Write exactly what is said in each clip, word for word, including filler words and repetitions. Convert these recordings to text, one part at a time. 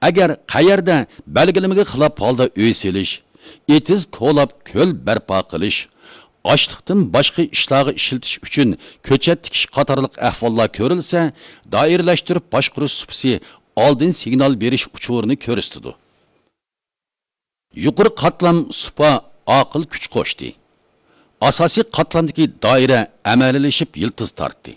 ئەگەر قەيەردە بەلگىلىمىگە خىلاپ ھالدا ئۆي سېلىش، ئېتىز كولاپ كۆل بەرپا قىلىش، ئاشلىقتىن باشقا ئىشلارغا ئىشلىتىش ئۈچۈن كۆچەت تىكىش قاتارلىق ئەھۋاللار كۆرۈلسە، دائىرىلەشتۈرۈپ باشقۇرۇش سۇپىسى ئالدىن سىگنال بېرىش ئۇچۇرىنى كۆرسىتىدۇ. يۇقىرى قاتلام سۇپا ئاقىل كۈچ قوشتى. ئاساسىي قاتلامدىكى دائىرە ئەمەلىيلىشىپ يىلتىز تارتتى.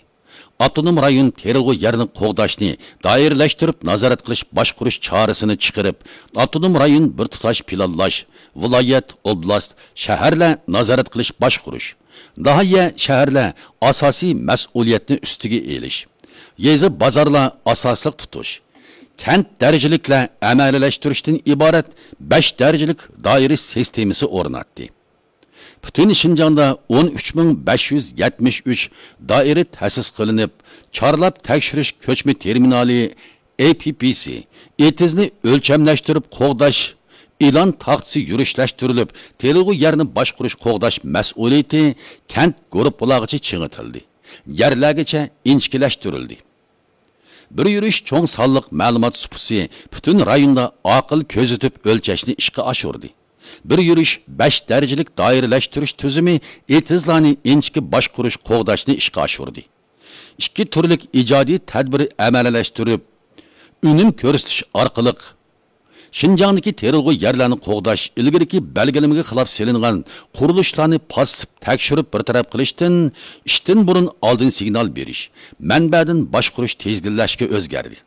ئاپتونوم رايون تېرىلغۇ يەرنى قوغداشنى دائىرىلەشتۈرۈپ نازارەت قىلىش باشقۇرۇش چارىسىنى چىقىرىپ، ئاپتونوم رايون بىر تۇتاش پىلانلاش، ۋىلايەت، ئوبلاست، شەھەرلەر نازارەت قىلىش باشقۇرۇش، ناھىيە، شەھەرلەر ئاساسىي مەسئۇلىيەتنى ئۈستىگە ئېلىش، يېزا، بازارلار ئاساسلىق تۇتۇش، كەنت دەرىجىلىكلەر ئەمەلىيلەشتۈرۈشتىن ئىبارەت بەش دەرىجىلىك دائىرە سىستېمىسى ئورناتتى. پۈتۈن شىنجاڭدا ئون ئۈچ مىڭ بەش يۈز يەتمىش ئۈچ دائىرە تەسىس قىلىنىپ، چارلاپ تەكشۈرۈش كۆچمە تېرمىنالى، ئېي پىي پىي سى، ئېتىزنى ئۆلچەملەشتۈرۈپ قوغداش ئېلان تاختىسى يۈرۈشلەشتۈرۈلۈپ، تېرىلغۇ يەرنى باشقۇرۇش قوغداش مەسئۇلىيىتى كەنت گۇرۇپپىلارغىچە چىڭىتىلدى، يەرلەرگىچە ئىنچىكىلەشتۈرۈلدى. بىر يۈرۈش چوڭ سانلىق مەلۇمات سۇپىسى پۈتۈن رايوندا ئاقىل كۆزىتىپ ئۆلچەشنى ئىشقا ئاشۇردى. بىر يۈرۈش بەش دەرىجىلىك دائىرىلەشتۈرۈش تۈزۈمى ئېتىزلارنى ئىنچىكە باشقۇرۇش، قوغداشنى ئىشقا ئاشۇردى. ئىككى تۈرلۈك ئىجادىي تەدبىر ئەمەلىيلەشتۈرۈپ، ئۈنۈم كۆرسىتىش ئارقىلىق شىنجاڭدىكى تېرىلغۇ يەرلەرنى قوغداش، ئىلگىرىكى بەلگىلىمىگە خىلاپ سېلىنغان قۇرۇلۇشلارنى پاسسىپ تەكشۈرۈپ بىر تەرەپ قىلىشتىن، ئىشتىن بۇرۇن ئالدىن سىگنال بېرىش، مەنبەدىن باشقۇرۇش تىزگىنلەشكە ئۆزگەردى.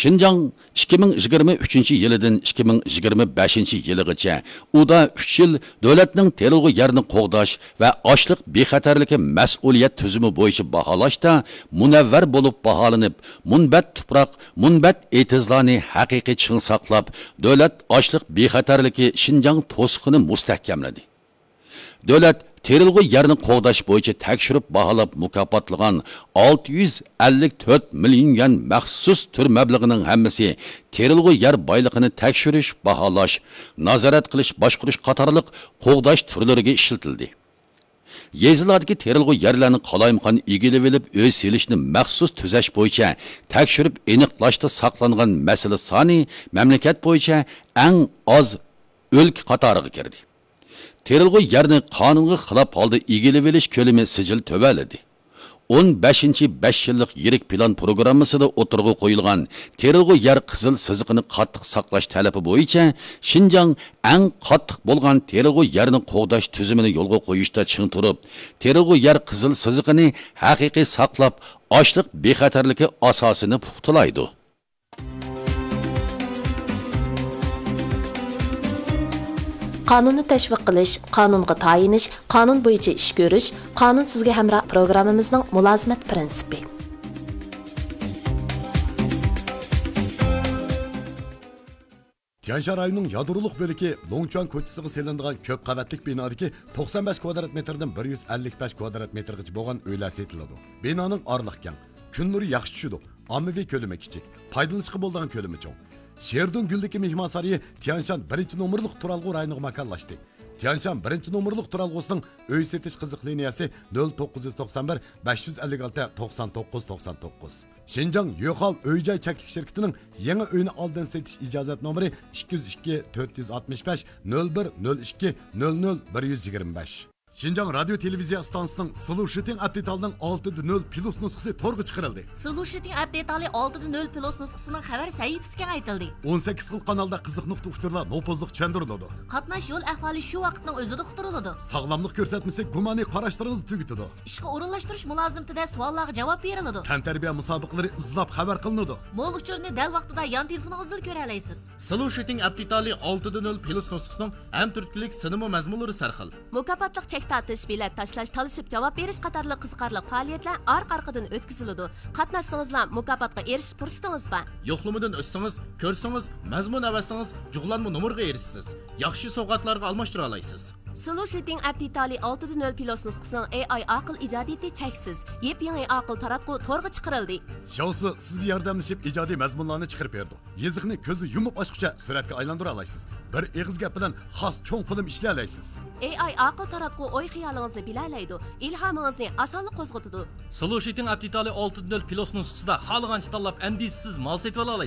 شىنجاڭ ئىككى مىڭ يىگىرمە ئۈچىنچى يىلىدىن ئىككى مىڭ يىگىرمە بەشىنچى يىلىغىچە ئۇدا ئۈچ يىل دۆلەتنىڭ تېرىلغۇ يەرنى قوغداش ۋە ئاشلىق بىخەتەرلىكى مەسئۇلىيەت تۈزۈمى بويىچە باھالاشتا مۇنەۋۋەر بولۇپ باھالىنىپ، مۇنبەت تۇپراق، مۇنبەت ئېتىزلارنى ھەقىقىي چىڭ ساقلاپ، دۆلەت ئاشلىق بىخەتەرلىكى شىنجاڭ توسۇقىنى مۇستەھكەملىدى. دۆلەت تېرىلغۇ يەرنى قوغداش بويىچە تەكشۈرۈپ باھالاپ مۇكاپاتلىغان ئالتە يۈز ئەللىك تۆت مىليون يۈەن مەخسۇس تۈر مەبلىغىنىڭ ھەممىسى تېرىلغۇ يەر بايلىقىنى تەكشۈرۈش، باھالاش، نازارەت قىلىش، باشقۇرۇش قاتارلىق قوغداش تۈرلىرىگە ئىشلىتىلدى. يېزىلاردىكى تېرىلغۇ يەرلەرنى قالايمىقان ئىگىلىۋېلىپ ئۆي سېلىشنى مەخسۇس تۈزەش بويىچە تەكشۈرۈپ ئېنىقلاشتا ساقلانغان مەسىلە سانى مەملىكەت بويىچە ئەڭ ئاز ئۆلكە قاتارىغا كىردى. تېرىلغۇ يەرنى قانۇنغا خىلاپ ھالدا ئىگىلىۋېلىش كۆلىمى سىجىل تۆۋەنلىدى. ئون بەشىنچى بەش يىللىق يىرىك پىلان پروگراممىسىدا ئوتتۇرىغا قويۇلغان تېرىلغۇ يەر قىزىل سىزىقىنى قاتتىق ساقلاش تەلىپى بويىچە شىنجاڭ ئەڭ قاتتىق بولغان تېرىلغۇ يەرنى قوغداش تۈزۈمىنى يولغا قويۇشتا چىڭ تۇرۇپ، تېرىلغۇ يەر قىزىل سىزىقىنى ھەقىقىي ساقلاپ، ئاشلىق بىخەتەرلىكى ئاساسىنى پۇختىلايدۇ. قانۇننى تەشۋىق قىلىش، قانۇنغا تايىنىش، قانۇن بويىچە ئىش كۆرۈش، قانۇن سىزگە ھەمراھ پروگراممىمىزنىڭ مۇلازىمەت پىرىنسىپى. تيەنشان رايونىنىڭ يادرولۇق بۆلىكى لوڭچۈەن كوچىسىغا سېلىنىدىغان كۆپ قەۋەتلىك بىنادىكى توقسان بەش كۋادرات مېتىردىن بىر يۈز ئەللىك بەش كۋادرات مېتىرغىچە بولغان ئۆيلەر سېتىلىدۇ. بىنانىڭ ئارىلىق كەڭ، كۈن نۇرى ياخشى چۈشىدۇ، ئاممىۋى كۆلىمى كىچىك، پايدىلىنىشقا بولىدىغان كۆلىمى چوڭ. شېردۇڭ گۈلدىكى مېھمانسارىيى تيەنشان بىرىنچى نومۇرلۇق تۇرالغۇ رايونىغا ماكانلاشتى. تيەنشان بىرىنچى نومۇرلۇق تۇرالغۇسىنىڭ ئۆي سېتىش قىزىق لىنىيەسى نۆل توققۇز يۈز توقسان بىر، بەش يۈز ئەللىك ئالتە، توقسان توققۇز، توقسان توققۇز. شىنجاڭ يۆخاۋ ئۆي جاي چەكلىك شىركىتىنىڭ يېڭى ئۆينى ئالدىن سېتىش ئىجازەت نومۇرى ئىككى يۈز ئىككى، تۆت يۈز ئاتمىش بەش، نۆل بىر، نۆل ئىككى، نۆل نۆل، بىر يۈز يىگىرمە بەش. شىنجاڭ رادىيو تېلېۋىزىيە ئىستانسىسىنىڭ سلۇشىتىڭ ئەپ دېتالىنىڭ ئالتە دە نۆل پلۇس نۇسخىسى تورغا چىقىرىلدى. سلۇشىتىڭ ئەپ دېتالى ئالتە دە نۆل پلۇس نۇسخىسىنىڭ خەۋەر سەھىپىسى كېڭەيتىلدى. ئون سەككىز خىل قانالدا قىزىق نۇقتا ئۇچۇرلار نوپۇزلۇق چۈشەندۈرۈلىدۇ. قاتناش يول ئەھۋالى شۇ ۋاقىتنىڭ ئۆزىدە ئۇقتۇرۇلىدۇ. ساغلاملىق كۆرسەتمىسى گۇمانىي قاراشلىرىڭىزنى تۈگىتىدۇ. ئىشقا ئورۇنلاشتۇرۇش مۇلازىمىتىدە سوئاللارغا جاۋاب بېرىلىدۇ. تەنتەربىيە مۇسابىقىلىرى ئىزلاپ خەۋەر قىلىنىدۇ. مول ئۇچۇرنى دەل ۋاقتىدا يان تېلېفونىڭىزدىلا كۆرەلەيسىز. سلۇشىتىڭ ئەپ دېتالى ئالتە دە نۆل پلۇس نۇسخىسىنىڭ ھەم تۈرتكىلىك سىنىمۇ مەزمۇنلىرى سەرخىل. مۇكاپاتلىق چەك تارتىش، بېلەت تاشلاش، تالىشىپ جاۋاب بېرىش قاتارلىق قىزىقارلىق پائالىيەتلەر ئارقا-ئارقىدىن ئۆتكۈزۈلىدۇ. قاتناشسىڭىزلا مۇكاپاتقا ئېرىشىش پۇرسىتىڭىز بار. يوقلىمىدىن ئۆتسىڭىز، كۆرسىڭىز، مەزمۇن ئەۋەتسىڭىز، جۇغلانما نومۇرغا ئېرىشىسىز. ياخشى سوۋغاتلارغا ئالماشتۇرالايسىز. سلۇشىتىڭ ئەپ دېتالى ئالتە دە نۆل پلۇس نۇسخىسىنىڭ ئېي ئاي ئاقىل ئىجادىيىتى چەكسىز. يېپيېڭى ئاقىل تاراتقۇ تورغا چىقىرىلدى. شاۋسى سىزگە ياردەملىشىپ ئىجادىي مەزمۇنلارنى چىقىرىپ بېرىدۇ. يېزىقنى كۆزنى يۇمۇپ ئاچقۇچە سۈرەتكە ئايلاندۇرالايسىز. بىر ئېغىز گەپ بىلەن خاس چوڭ فىلىم ئىشلىيەلەيسىز. ئېي ئاي ئاقىل تاراتقۇ ئوي-خىيالىڭىزنى بىلەلەيدۇ، ئىلھامىڭىزنى ئاسانلا قوزغىتىدۇ. سلۇشىتىڭ ئەپ دېتالى ئالتە دە نۆل پلۇس نۇسخىسىدا خالىغانچە تاللاپ ئەندىشىسىز مال سېتىۋالالايسىز.